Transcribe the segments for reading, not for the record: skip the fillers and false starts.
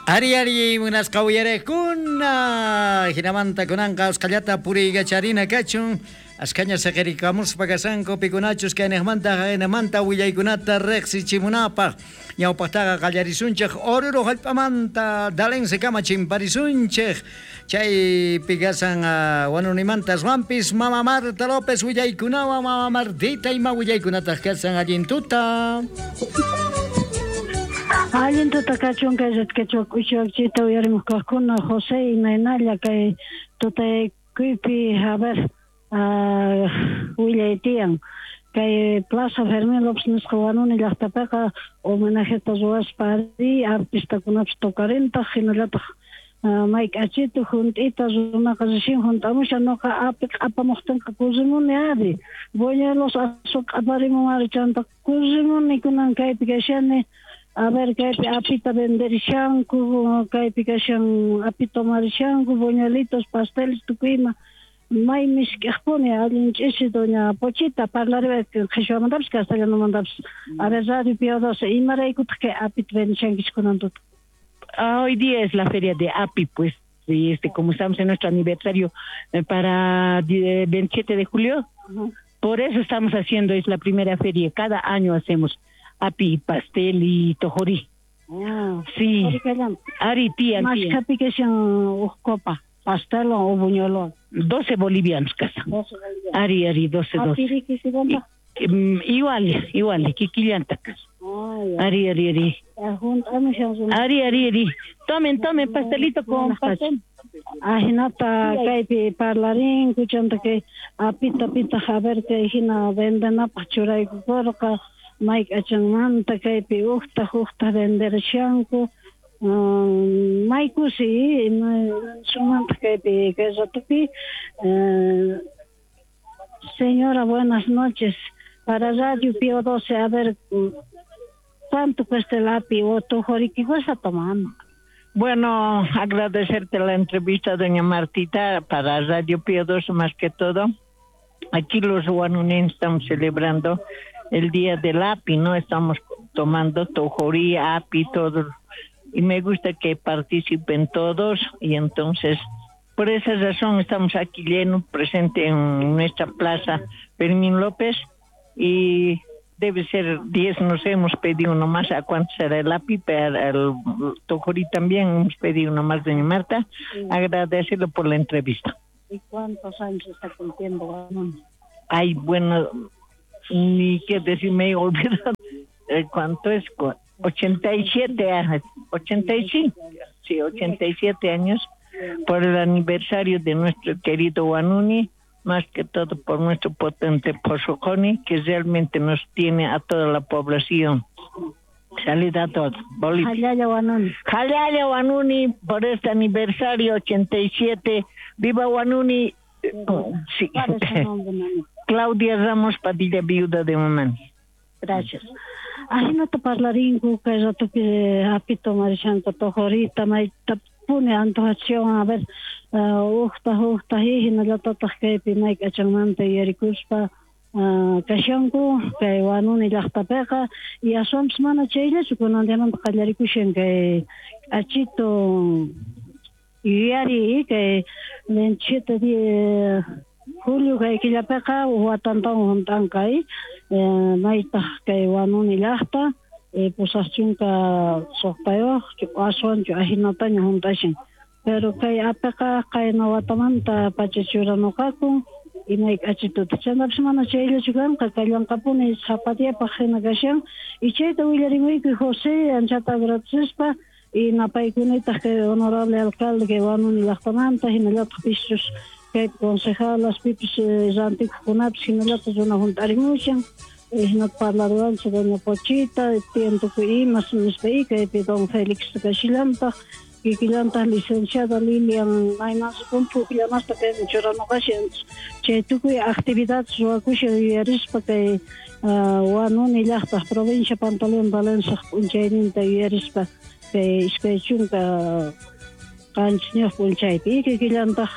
Ari ari munasqa uyariqkuna, hinamanta kunanqa usqhallata puriykacharina kachun, ashkhaña siqirikamuspa kashanku pikunachus kayniqmanta haqaynimanta willaykunata riqsichimunapaq. Ñawpaqtaqa qallarisunchik Oruro hallp'amanta Dalensekama chimparisunchik, chaypi kashan Wanunimanta aswanpis Mama Marta López willaykunawan. Mama Martita, ima willaykunataq kashan? Allin tuta. Allin tuta kachun kay red quechua k'uchuakchita uyarimuq kaqkuna. José, imaynalla kay tutaykuypi? A ver, willay tiyan. Kay Plaza Fermín López nisqa Wanuni llaqtapiqa homenajeta ruwaspa ari artistakunapis tocarintaq, hinallataq may k'achitu junt'ita runaqa recién junt'amushan. Noqa api q'apamuqtinqa kusimuni ari, buñuelos asu q'aparimun ari, chanta kusimuni. Kunan kaypi kashani, a ver, kaypi apita venderishanku, kaypi kashan api tomarishanku, buñuelitos, pasteles, tukuy ima may misk'iqpuni. Allin ch'isi. Doña Pochita, parlariway qhichwamantapis castellanomantapis. A ver, Radio Pío 12, imaraykutaq kay apita vendishankichik kunan tuta? Hoy día es la feria de API, pues, y como estamos en nuestro aniversario para 27 de julio, por eso estamos haciendo, es la primera feria, cada año hacemos API, pastel y tojorí. Sí. Ari, tía, tía. Mashkhapi kashan uj copa pastel o buñuelo? 12 bolivianos casa. 12 bolivianos. Ari, ari, 12, 12. Apiri kisilanta? Igual, igual, kikillanta casa. Ari, ari, ari. Ari, ari, ari. Tomen, tomen, pastelito con pastel. Ajinata kaypi parlarinku, chanta kay apita pitaq, a ver, kay hina vendenapaq churaykukurqa, may k'achanmanta kaypi ujta ujta venderishanku. May kusi sumantaq kaypi kay ratopi. Señora, buenas noches. Para Radio Pío 12, a ver, ¿cuánto cuesta el api o tojorí? ¿Qué cuesta tomando? Bueno, agradecerte la entrevista, doña Martita, para Radio Pío 12 más que todo. Aquí los huanunenses estamos celebrando el Día del API, ¿no? Estamos tomando tojorí, API, todo. Y me gusta que participen todos y entonces, por esa razón estamos aquí lleno, presente en nuestra plaza Fermín López y debe ser 10, nos hemos pedido nomás a cuánto será el API, pero el tojorí también hemos pedido nomás, doña Marta. Agradecerlo por la entrevista. ¿Y cuántos años está cumpliendo? Ay, bueno, ni qué decir, me he olvidado. ¿Cuánto es? 87 años, 85, sí, 87 años por el aniversario de nuestro querido Huanuni, más que todo por nuestro potente Posoconi, que realmente nos tiene a toda la población. Salida a todos. Bolivia. Jallalla Huanuni. Jallalla Huanuni por este aniversario 87. ¡Viva Huanuni! Sí. ¿Cuál es su nombre, mami? Claudia Ramos Padilla, viuda de Mamani. Gracias. Ajinata parlarinku kay ratopi api tomarishanku tojorita, maytapuni antojachiwan, a ver, ujta ujta hinallatataq kaypi may k'achanmanta yuyarikuspa kashanku kay Wanuni llaqtapiqa. Y aswanpis mana chayllachu, kunan diamanta qallarikushan kay k'achitu yuyari kay 27 de julio kay killapiqa watantawan hunt'anqa, maytaq kay Wanuni llaqta 86 aswanchu ajinataña hunt'ashan, pero kay apiqa qayna watamanta pacha churanuqakun imay k'achituta. Chantapis mana chayllachu kanqa, kallanqapuni sapa diapaq hina kashan. Y chayta willarimuyku, José, anchata agradecespa y napaykunitaq kay honorable alcalde kay Wanuni llaqtamanta, hinallataq pischus kay concejalas pipis rantikuqkunapis hinallataq runa hunt'arimushan. Hinata parlaruwanchik doña Pochita, tiyan tukuy imas nispa, y kaypi don Félix kashillantaq, kikillantaq licenciada Lilian maymansi pukllanasta kaymi churanuqashan. Chay tukuy actividades ruwakushan yuyarispa kay Wanuni llaqtaq provincia Pantaleón Dalensaq p'unchayninta yuyarispa kay 27 p'unchaypi. Y kikillantaq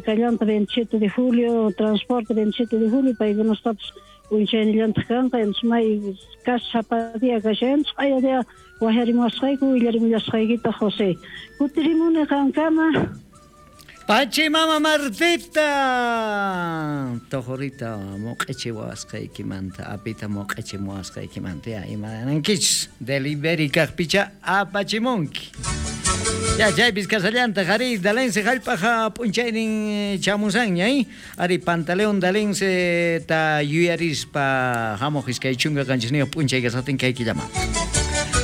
kallanta 27 de julio, transporte 27 de julio, paykunastapis p'unchaynillantaq kanqa. Entonces may casi sapa día kashan, q'aya día. Wajarimuwasqayku willarimullasqaykita José. Kutirimuni qankama. Pachi mama Martita, tojorita moq'echiwasqaykimanta, apita moq'echimuwasqaykimanta, ya imanankichis delivery kaqpicha apachimunki. Ya chaypis kasallantaq ari Dalense hallp'aqa p'unchaynin chamusanña, ari Pantaleón Dalense ta yuyarispa hamuq 27 p'unchay kasaqtin kay killamanta.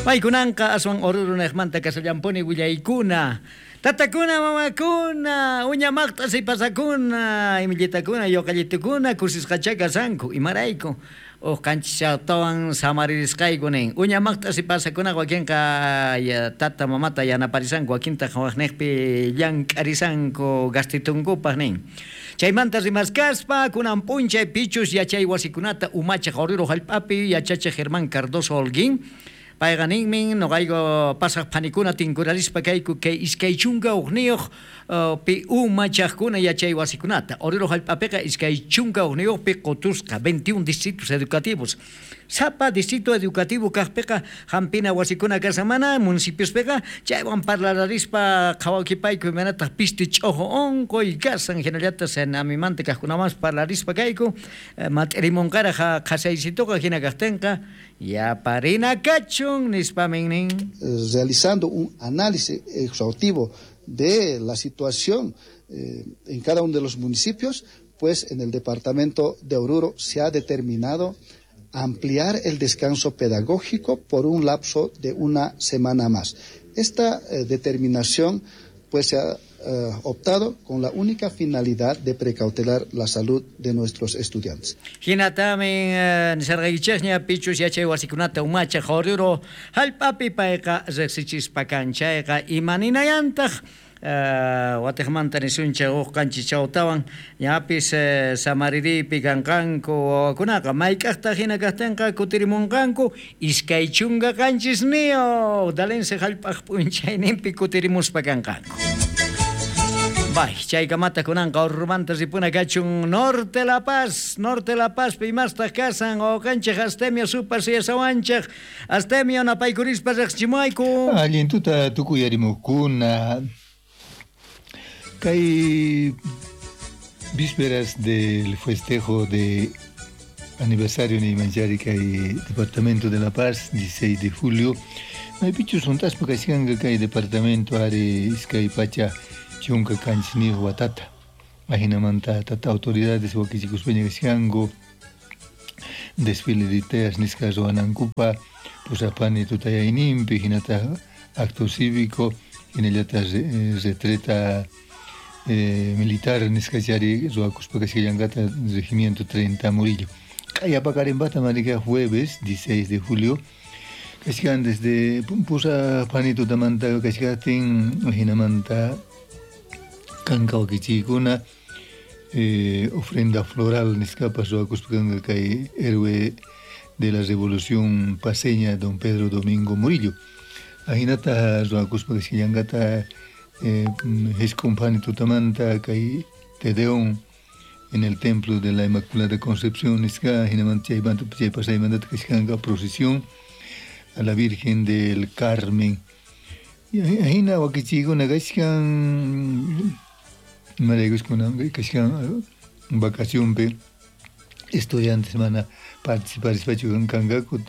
Paykunanqa aswan Oruro niqmanta kasallampuni willaykuna. Tatakuna, mamakuna, uña maqt'a sipasakuna, imillitakuna, yoqallitukuna kusisqachá kasanku. Imarayku? Uj qanchischawtawan samaririsqayku nin. Uña maqt'a sipasakunaqa wakinqa tata mamata yanaparisanku, wakintaq waqniqpi llank'arisanku gastitunkupaq nin. Chaymanta rimaskaspa kunan p'unchay pichus yachay wasikunata umachaq Oruro hallp'api yachachiq Germán Cardoso Holguín. Payqa ninmin noqayku pasaq phanikuna tinkurarispa kayku kay 21 pi umachaqkuna yachay wasikunata. Oruro hallp'apiqa 21pi qutusqa 21 distritos educativos. Sapa distrito educativo kaqpiqa hampina wasikuna kasan mana municipiospiqa chaywan parlararispa qhawakipayku imanataq pisti ch'ojo unquy kasan hinallataq senamimanta kaqkunamanpas parlarispa kayku mat'irimunqaraq qhasaysituqa hina kaqtinqa yaparina kachun nispamin nin. Realizando un análisis exhaustivo de la situación en cada uno de los municipios, pues en el departamento de Oruro se ha determinado ampliar el descanso pedagógico por un lapso de una semana más. Esta determinación pues se ha optado con la única finalidad de precautelar la salud de nuestros estudiantes. Hinatamin nisarqaykichikña pichus yachay wasikunata umachaq Oruro hallp'api payqa riqsichispa kan chayqa imaninayantaq watiqmanta nisunchik huk qanchischawtawan ñapis samaririypi kanqanku wawakunaqa mayk'aqtaq hina kaqtinqa kutirimunqanku 27 Dalense hallp'aq p'unchayninpi kutirimuspa kanqanku. Bay, chaykamata kunanqa Orurumanta ripuna kachun Norte La Paz, Norte La Paz imastaq kasan wawqanchik Astemio supas yasawanchik Astemio napaykurispa riqsichimuwayku. Allin tuta tukuyarimuqkuna. Kay vísperas del festejo de aniversario Neymanchari kay Departamento de La Paz, 16 de julio. Maypichus juntaspa kashkanqa kay departamento ari iskay pacha chunka kanchiniyuq watata. Ajinamanta tata autoridades wakichikuspaña kashkanku desfile de teas nisqa ruwanankupa pusapani tutayayninpi hinata acto cívico hinallata retreta militar nisqachari ruwakuspa kashkallankata regimiento 30 Murillo. Kay apaqarinpata marika jueves 16 de julio kashkan desde pusapani tutamanta kashkatin hinamanta kanka wakichiykuna ofrenda floral nisqapas ruwakuspa kanka kay héroe de la revolución paseña don Pedro Domingo Murillo. Ahinata ruwakuspa kashkallankata Escompani tutamanta kay Tedeón en el templo de la Inmaculada Concepción nisqa hinamanta chaymanta chaypasaymantata kashkanka procesión a la Virgen del Carmen. Ahina wakichiykuna kashkan imaraykuskuna kashkan vacacionpi estudiantes mana participarispachu kankaku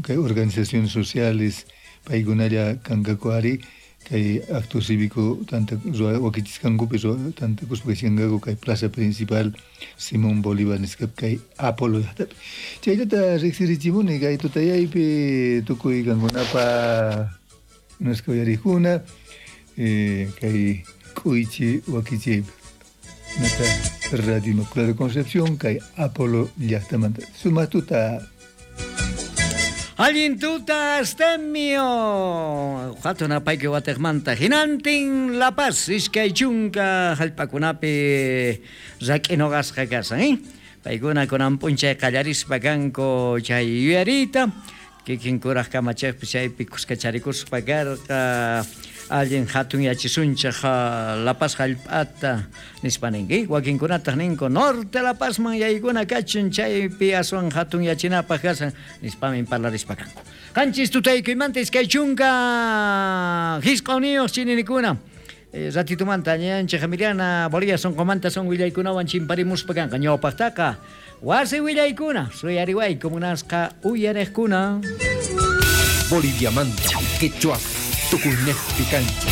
kay organizaciones sociales paykunalla kankaku ari kay acto cívico tanta wakichiskankupi tanta kuspa kashkankaku kay plaza principal Simón Bolívar nisqapi kay Apolo llaqtapi. Chayllata riqsirichimuni kay tutayaypi tukuy kankunapa nisqa uyarikuna kay k'uychi wakichiypi nata Radio Inmaculada Concepción kay Apolo llaqtamanta. Sumaq tuta. Allin tuta Astemio. Hatun apayki watiqmanta hinantin La Paz 20 hallp'akunapi rak'inuqasqa kasan, Paykuna kunan p'unchay qallarispa kanku chay yuyariyta. Kikin kuraj kamachejpis chaypi khuskacharikuspa karqa, allin hatunyachisunchej La Paz jallp'ata nispa ninki. Wakinkunataj ninku Norte La Pazman yaykuna kachun chaypi aswan hatunyachinapaj kashan nispamin parlarispa kanku. Qanchis tutaykuymanta 29 chininikuna. Ratitumanta ñanchej Emiliana Bolivia sonqomanta son willaykunawan chimparimuspa kanqa. Ñawpaqtaqa wasi willaykuna suyariwayku munasqa uyarejkuna. Boliviamanta, Quechua, Tucunejpi cancha.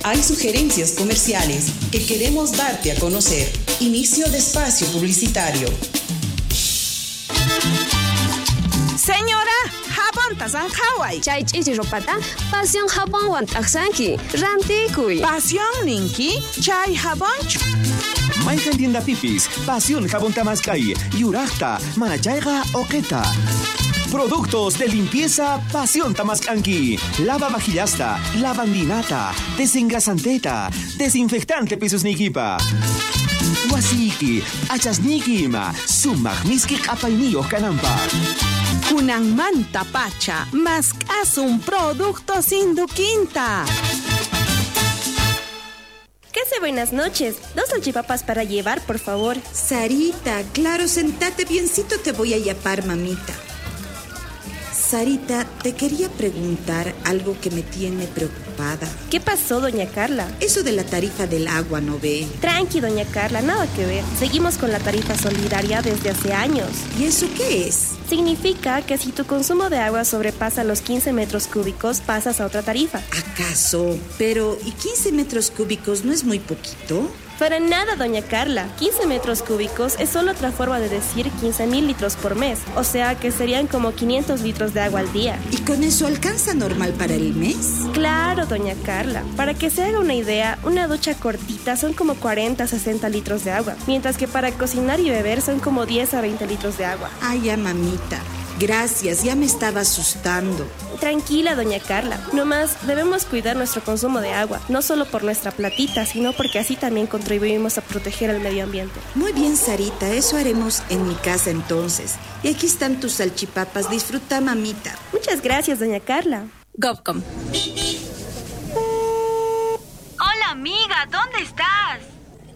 Hay sugerencias comerciales que queremos darte a conocer. Inicio de espacio publicitario. Señora, jabonta sanjaway. Chay ch'ichi ropata pasión jabonwan t'aqsanki. Rantikuy. Pasión ninki, chay jabonchu. Mayqan tiendapipis, Pasión Jabón Tamaskay, Yurajta, Manachayqa, Oqeta. Productos de limpieza Pasión Tamaskanki. Lava vajillasta, lavandinata, desengrasanteta, desinfectante pisos nikipa. Wasiki, achasniki ima, sumaq miski q'apayniyuq kananpaq. Kunanmanta pacha, mask'asun productos Induquinta. ¿Qué hace? Buenas noches. 2 salchipapas para llevar, por favor. Sarita, claro, sentate biencito, te voy a yapar, mamita. Sarita, te quería preguntar algo que me tiene preocupada. ¿Qué pasó, doña Carla? Eso de la tarifa del agua, ¿no ve? Tranqui, doña Carla, nada que ver. Seguimos con la tarifa solidaria desde hace años. ¿Y eso qué es? Significa que si tu consumo de agua sobrepasa los 15 metros cúbicos, pasas a otra tarifa. ¿Acaso? Pero, ¿y 15 metros cúbicos no es muy poquito? Para nada, doña Carla. 15 metros cúbicos es solo otra forma de decir 15.000 litros por mes. O sea que serían como 500 litros de agua al día. ¿Y con eso alcanza normal para el mes? Claro, doña Carla. Para que se haga una idea, una ducha cortita son como 40 a 60 litros de agua. Mientras que para cocinar y beber son como 10 a 20 litros de agua. Ay, ya, mamita. Gracias, ya me estaba asustando. Tranquila, doña Carla. Nomás debemos cuidar nuestro consumo de agua, no solo por nuestra platita, sino porque así también contribuimos a proteger el medio ambiente. Muy bien, Sarita, eso haremos en mi casa entonces. Y aquí están tus salchipapas, disfruta, mamita. Muchas gracias, doña Carla. Gobcom. Hola, amiga, ¿dónde estás?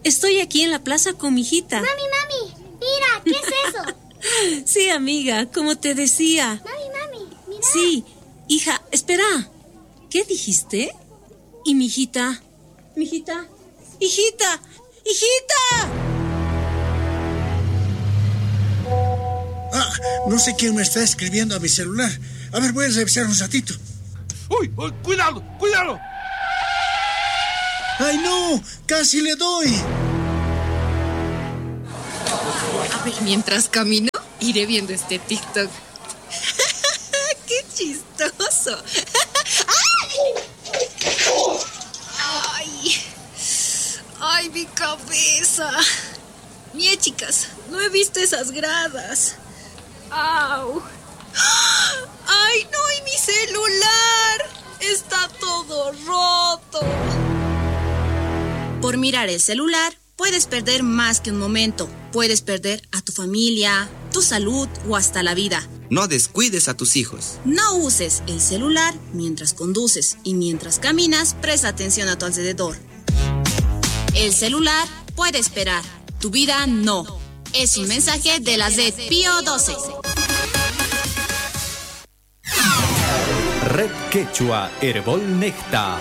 Estoy aquí en la plaza con mi hijita. Mami, mami, mira, ¿qué es eso? Sí, amiga, como te decía. Mami, mami, mira. Sí, hija, espera. ¿Qué dijiste? ¿Y mi hijita? ¿Mi hijita? ¡Hijita! ¡Hijita! Ah, no sé quién me está escribiendo a mi celular. A ver, voy a revisar un ratito. ¡Uy! ¡Uy! ¡Cuidado! ¡Cuidado! ¡Ay, no! ¡Casi le doy! A ver, mientras camino, iré viendo este TikTok. ¡Qué chistoso! ¡Ay! ¡Ay, mi cabeza! Mie, chicas, no he visto esas gradas. ¡Au! ¡Ay, no! ¡Y mi celular! ¡Está todo roto! Por mirar el celular, puedes perder más que un momento. Puedes perder a tu familia, tu salud o hasta la vida. No descuides a tus hijos. No uses el celular mientras conduces y mientras caminas, presta atención a tu alrededor. El celular puede esperar, tu vida no. Es un mensaje de la Red Pío 12. Red Quechua Herbol Necta.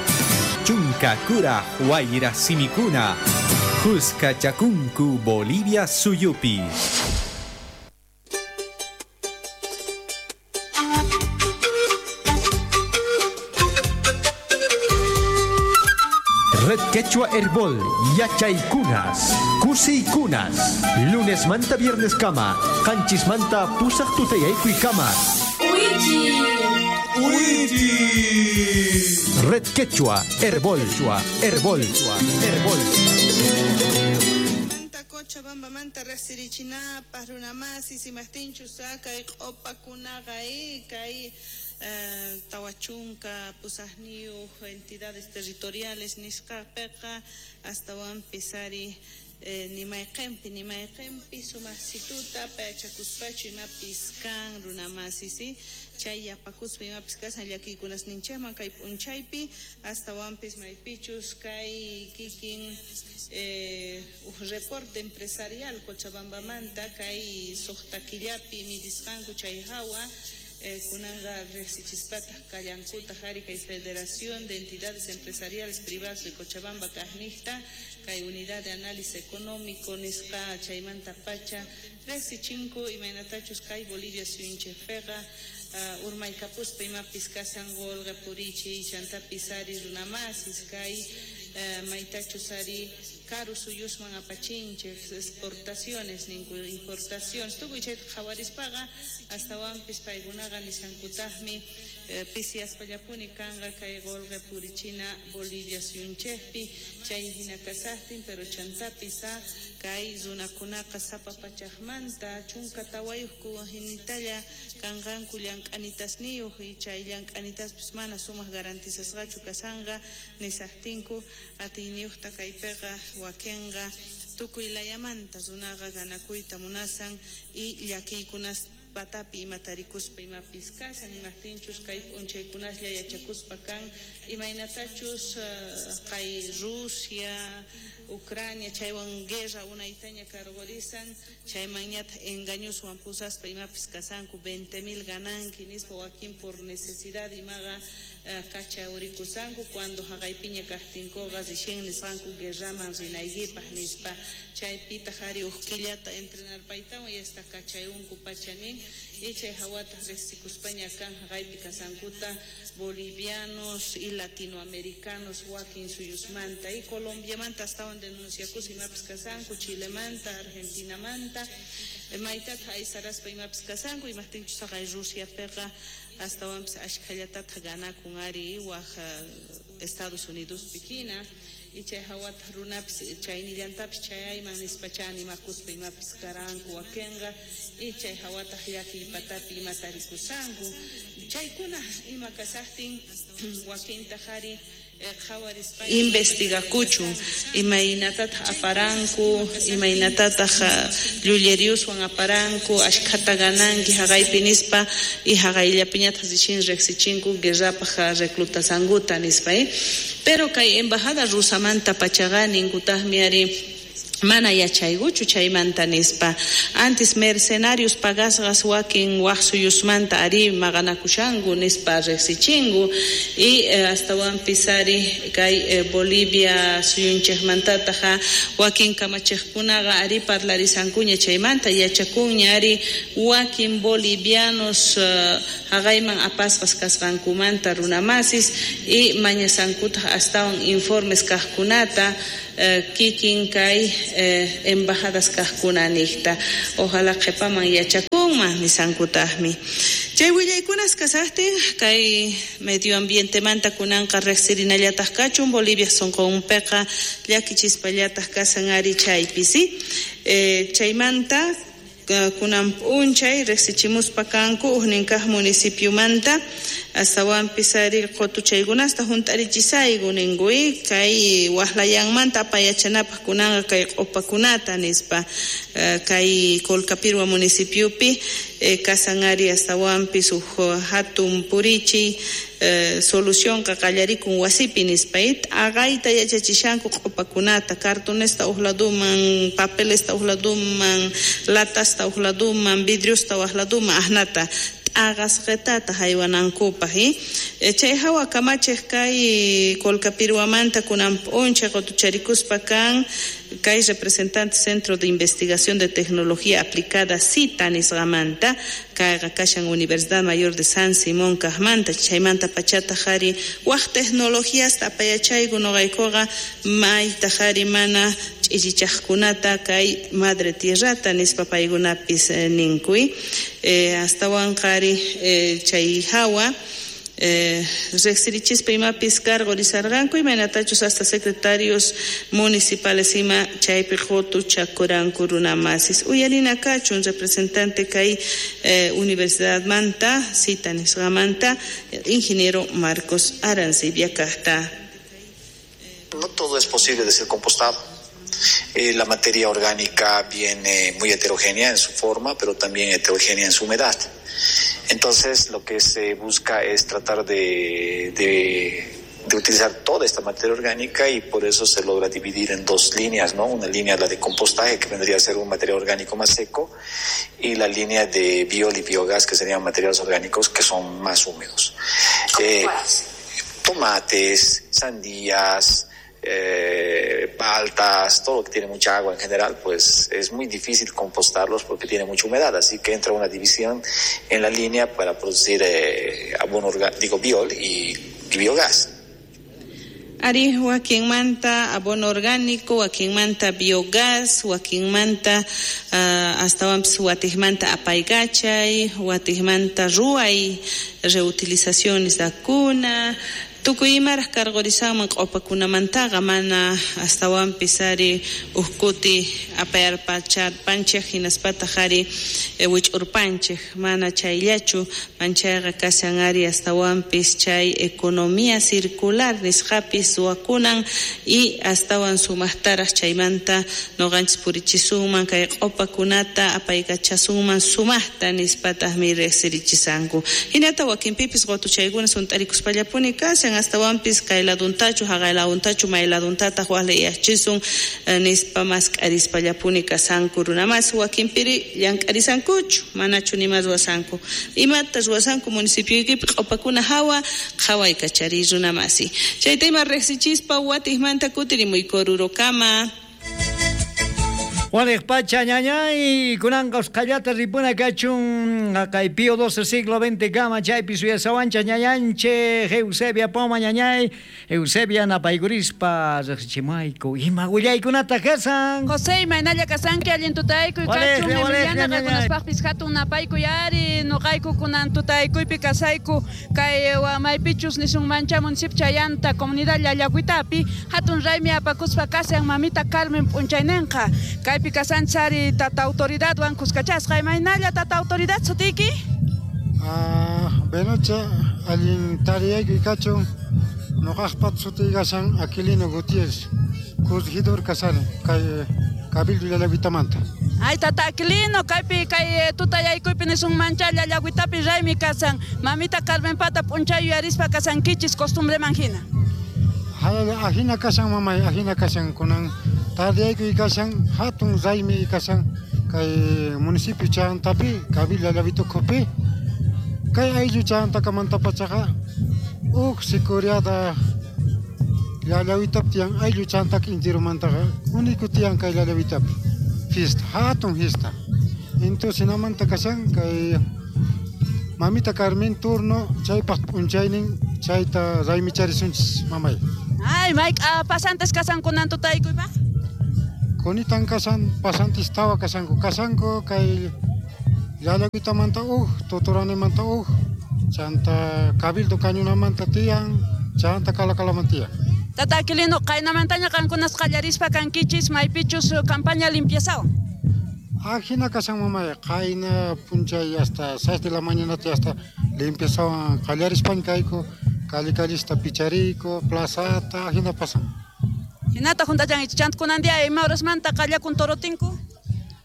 Chunka Kura Huayra Simikuna. Juska Chakunku Bolivia Suyupi. Red Quechua Herbol, Yachaykunas, Kusiykunas, lunes manta viernes kama, qanchis manta pusaq tutayaykuy kama. Uichi. Uichi. Red Quechua Herbol, Herbol, Herbol. Cochabamba manta riqsirichinapaq runamasi simaqtinchu sakay q'upakunaqa kay tawachunka pusaqniyuq entidades territoriales nisqapiqa astawanpis ari Ni mayqenpi sumaqsituta payachakuspachu imapis kan runamasi, chay yapakuspa imapis kasan llakiykunasninchikman kay p'unchaypi astawanpis maypichus kay kikin uj reporte empresarial Cochabambamanta kay suqta killapi midisqanku chay hawa kunanqa riqsichispataq kallankutaq ari kay Federación de Entidades Empresariales Privadas de Cochabamba kaqniqta kay Unidad de Análisis Económico nisqa chaymanta pacha riqsichinku imaynatachus kay Bolivia suyunchikpiqa urmaykapuspa imapis kasan qolqe purichiy chantapis ari runamasis kay maytachus ari karu suyusman apachinchik exportaciones ninku importaciones tukuy chayta qhawarispaqa astawanpis paykunaqa nishankutaqmi pisiaspallapuni kanqa kay qolqe purichina Bolivia suyunchikpi chay hina kasaqtin pero chantapis kay runakunaqa sapa pachaqmanta 14 hinitalla kanqanku llank'anitasniyuq y chay llank'anitaspis mana sumaq garantizasqachu kasanqa nisaqtinku atiyniyuqta kaypiqa wakinqa tukuy layamanta runaqa ganakuyta munasan y llakiykunas patapi ima tarikuspa imapis kasan imaqtinchus kay p'unchaykunaslla yachakuspa kan imaynatachus kay Rusia Ucrania chaywan guerra unaytaña karqurisan chaymanñataq engañoswan pusaspa imapis kasanku 20,000 gananki nispa wakin por necesidad imaqa kacha urikusanku cuando haqaypiña kaqtinkuqa rixin nisqanku guerraman rinaykipaq nispa chaypitaq ari uj killata entrenar paytawan y hasta kachayunku pacha nin y chay hawataq riqsikuspaña kan haqaypi kasankuta bolivianos y latinoamericanos wakin suyusmanta y Colombiamanta astawan denunciakus imapis kasanku Chilemanta Argentinamanta maytataq aysaraspa imapis kasanku imaqtinchus haqay Rusiapiqa astawanpis ashkhallatataq ganakun ari waj Estados Unidospi hina y chay hawataq runapis chaynillantapis chayayman nispacha animakuspa imapis karanku wakinqa y chay hawataq llakiy patapi ima tarikusanku chaykuna ima kasaqtin wakintaq ari investigakuchun imaynatataq aparanku imaynatataq llulleriuswan aparanku ashkhata gananki haqaypi nispa y haqayllapiñataq rixin riqsichinku guerrapaq reclutasankuta nispa pero kay embajada rusamanta pachaqa ninkutaqmi ari mana yachaykuchu chaymanta nispa antes mercenarios pagasqas wakin waj suyusmanta ari maqanakushanku nispa riqsichinku y astawanpis ari kay Bolivia suyunchikmantataq wakin kamachiqkunaqa ari parlarisankuña chaymanta yachakunña ari wakin bolivianos haqayman apasqas kasqankumanta runamasis y mañasankutaq astawan informes kaqkunata kikin kay embajadas kaqkuna niqta ojalá qhipaman yachakunman nisankutaqmi chay willaykunas kasaqtin kay medio ambientemanta kunanqa riqsirinallataq kachun Bolivia sunqunpiqa llakichispallataq kasan ari chaypi si chaymanta kunan p'unchay riqsichimuspa kanku ujnin kaq municipiomanta astawanpis ari qutuchaykunasta hunt'arichisayku ninku kay waqlayanmanta apayachanapaq kunanqa kay q'upakunata nispa kay Colcapirhua municipiopi kasan ari astawanpis uj hatun purichiy solucionqa qallarikun wasipi nispa aqayta yachachishanku q'upakunata cartonesta uj laduman papelesta uj laduman latasta uj laduman vidriosta uj laduman ajnata t'aqasqitata haywanankupaq chay hawa kamachiq kay Colcapirhuamanta kunan p'unchay qutucharikuspa kan kay representante Centro de Investigación de Tecnología Aplicada CITA nisqamanta kayqa kashan Universidad Mayor de San Simón kaqmanta chaymanta pachataq ari waj tecnologiasta apayachayku nuqaykuqa maytaq ari mana ch'ichichaqkunata kay madre tierrata nispa paykunapis ninkuy astawanqa ari chay hawa riqsirichispa imapis cargorisarqanku imaynatachus hasta secretarios municipales ima chaypi qutuchakuranku runamasis uyarina kachun representante kay universidadmanta cita nisqamanta ingeniero Marcos Arancibia kaqta. No todo es posible de ser compostado. La materia orgánica viene muy heterogénea en su forma, pero también heterogénea en su humedad. Entonces, lo que se busca es tratar de utilizar toda esta materia orgánica, y por eso se logra dividir en dos líneas, ¿no? Una línea, la de compostaje, que vendría a ser un material orgánico más seco, y la línea de biol y biogás, que serían materiales orgánicos que son más húmedos. Tomates, sandías, paltas, todo lo que tiene mucha agua en general, pues es muy difícil compostarlos porque tiene mucha humedad, así que entra una división en la línea para producir abono orgánico, biol y biogás. Ari, wakinmanta abono orgánico, wakinmanta biogás, wakinmanta astawanpis watijmanta apaykachay, watijmanta ruway reutilización nisqakuna, tukuy imaraj cargorisanman q'upakunamantaqa mana astawanpis ari uhkuti apayarpacharpanchej hinaspataq ari wich'urpanchej, mana chayllachu, manchayqa kashan ari astawanpis chay economía circular nisqapis ruwakunan y astawan sumaqtaraj chaymanta noqanchis purichisunman kay q'upakunata apaykachasunman sumaqta nispataqmi riqsirichisanku. Hinata wakinpipis qutuchaykuna sunt'arikuspallapuni kashan, astawanpis kay laduntachu haqay laduntachu may laduntataq waq liyaqchisun nispa mask'arispallapuni kasanku runamas, wakinpiri llank'arisankuchu manachu nima ruwasanku. Imata ruwasanku municipioykipi q'upakuna hawa qhawaykachariy runamasi. Chayta ima riqsichispa watijmanta kutirimuyku Orurokama. Waliq pacha ñañay, kunanqa usqhallata ripuna kachun kay Pío XII siglo XX kama chaypi suyasawancha ñañanchej Eusebia Poma ñañay, Eusebia napaykurispa riqsichimayku ima willaykunata kasan. José, imaynalla kasanki allin tutaykuy kachun Emiliana qankunaspaqpis hatun napaykuy ari nuqayku kunan tutaykuypi kasayku kay maypichus nisunmancha municipio chayanta comunidad Llallaguitapi hatun raymi apakuspa kasan mamita Carmen p'unchaynenqa kay kasanchari tata autoridadwan kuskachasqa. Imaynalla tata autoridad sutiki? Benocha allin tariyaykuy kachun noqaqpat sutiy kashan Aquilino Gutiérrez, corregidor kasani kay Cabildo Llallaguitamanta. Ay tata Aquilino, kaypi kay tutayaykuypi nisunmancha Llallaguitapi raymi kasan mamita Carmen pata p'unchay yuyarispa kasankichis costumbreman hina. Ajina kashan mamay, ajina kashan kunan tardiyaykuy kashan hatun raymi kashan kay municipio chantapi Cabildo Llallaguita ukhupi kay ayllu chantakamantapachaqa uj sicuriada Llallaguitapi tiyan ayllu chantaka intirumantaqa único tiyan kay Llallaguitapi fiesta, hatun fiesta. Entonces hinamanta kashan kay mamita Carmen turno chaypaq p'unchaynin chayta raymicharisunchis mamay. Ay, Mike, pasantes kasan kunan tutaykuypaq? Kunitan kasan, pasantes tawa kasanku, kasanku kay Llallaguitamanta uj, Totoranemanta uj, chanta Cabildo Cañunamanta tiyan, chanta Calacalaman tiyan. Tata Aquilino, qaynamantaña qankunas qallarispa kankichis maypichus campaña limpiazawan. Ajina kasan mamay, qayna p'unchay hasta 6 de la mañana hasta limpiazawan qallarispan kayku, calle callista pichariyku, plazata, ajina pasan. Hinata juntachankichis, chanta kunan día ima horasmanta qallakun torotinku?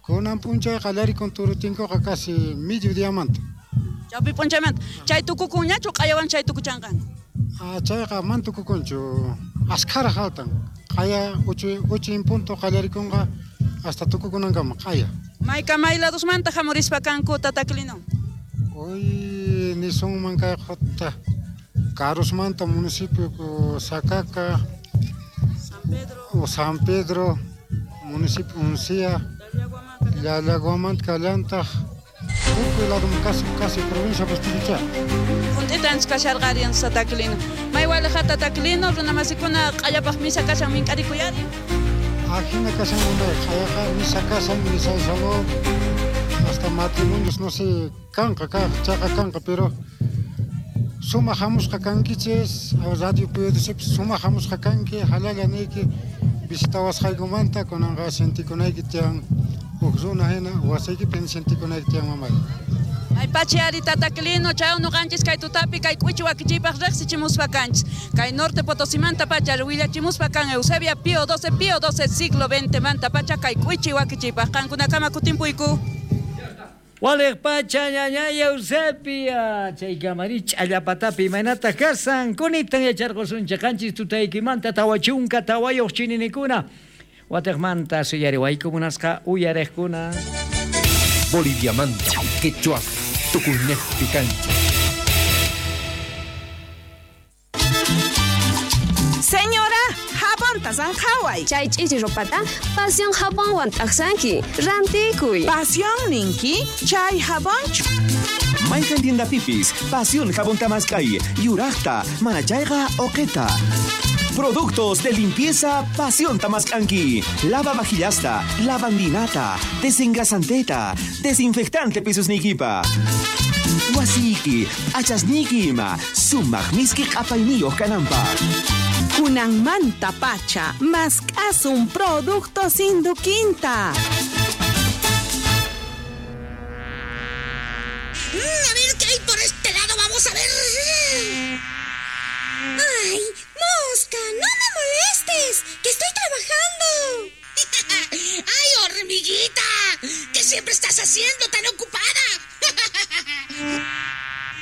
Kunan p'unchay qallarikun torotinkuqa casi mediodiamanta. Chawpi p'unchaymanta. Chay tukukunñachu q'ayawan chay tukuchanqanku? Chayqa man tukukunchu, askhara haltan. Q'aya 8 en punto qallarikunqa hasta tukukunankama q'aya. Mayka may ladosmanta hamurispa kanku tata Aquilino? Hoy nisunman kay qhutta Karusmanta municipio Sacaca, San Pedro, municipio Uncía, Llallaguamanta kallantaq, tukuy ladum casi provincia Pastucha. Junt'itanchis kasharqariyan tata Aquilino. May waliqa tata Aquilino runamasikuna q'allapaq misa kashan mink'arikuyari. Ajina kashan mamay, q'ayaqa misa kashan, misa salón, hasta matrimonios no sé, kanqa chaqa kanqa, pero suma hamusqa kankichis, radio PDCpis suma hamusqa kanki, halalla niyki visitawasqaykumanta kunanqa sentikunayki tiyan huk runa hina wasiykipi sentikunayki tiyan mamay. Ay pachi ari tataklino chay nuqanchis kay tutapi kay k'uchi wakichiypaq riqsichimuspa kanchis. Kay Norte Potosimanta pacha willachimuspa kan Eusebia Pío 12 Pío 12 siglo XX manta pacha kay k'uchi wakichiypaq qankunakama kutimpuyku. Waliq pacha ñañay Eusebia chay kamari ch'allapatapi imaynataq kasan kunitan yacharqusunchik qanchis tutaykimanta 44 chininikuna watiqmanta suyariwayku munasqa uyariqkuna. Boliviamanta, quechua, tukuynejpi kanchik. Señora, jabonta zanjaway. Chay ch'ichi ropata Pasión jabonwan t'aqsanki. Rantikuy. Pasión ninki, chay jabonchu. Mayqan tiendapipis, Pasión jabonta mask'ay, yuraqta, mana chayqa uqita. Productos de limpieza Pasión Tamascanqui. Lava vajillasta, lavandinata, desengrasanteta, desinfectante pisusnikipa. Wasiki, achasniki ima, sumaq miski q'apayniyuq kananpaq. Kunanmanta pacha, mask'asun productos Induquinta. A ver qué hay por este lado, vamos a ver. ¡Ay, mosca! ¡No me molestes! ¡Que estoy trabajando! ¡Ay, hormiguita! ¿Qué siempre estás haciendo tan ocupada?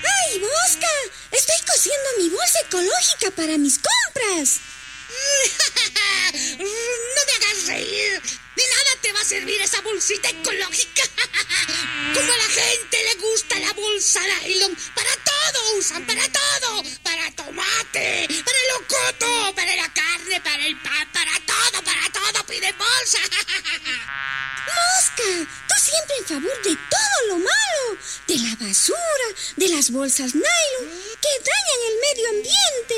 ¡Ay, mosca! Estoy cosiendo mi bolsa ecológica para mis compras. ¡No me hagas reír! ¡De nada te va a servir esa bolsita ecológica! Como a la gente le gusta la bolsa nylon, para todo usan, para todo. Para tomate, para el locoto, para la carne, para el pan, para todo piden bolsa. ¡Mosca! Tú siempre en favor de todo lo malo, de la basura, de las bolsas nylon, que dañan el medio ambiente.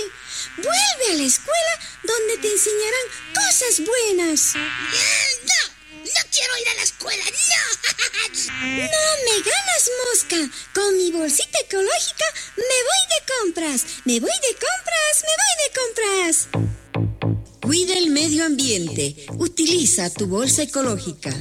Vuelve a la escuela donde te enseñarán cosas buenas. ¡No! ¡No quiero ir a la escuela! ¡No! ¡No me ganas, mosca! Con mi bolsita ecológica me voy de compras. ¡Me voy de compras! ¡Me voy de compras! Cuida el medio ambiente. Utiliza tu bolsa ecológica.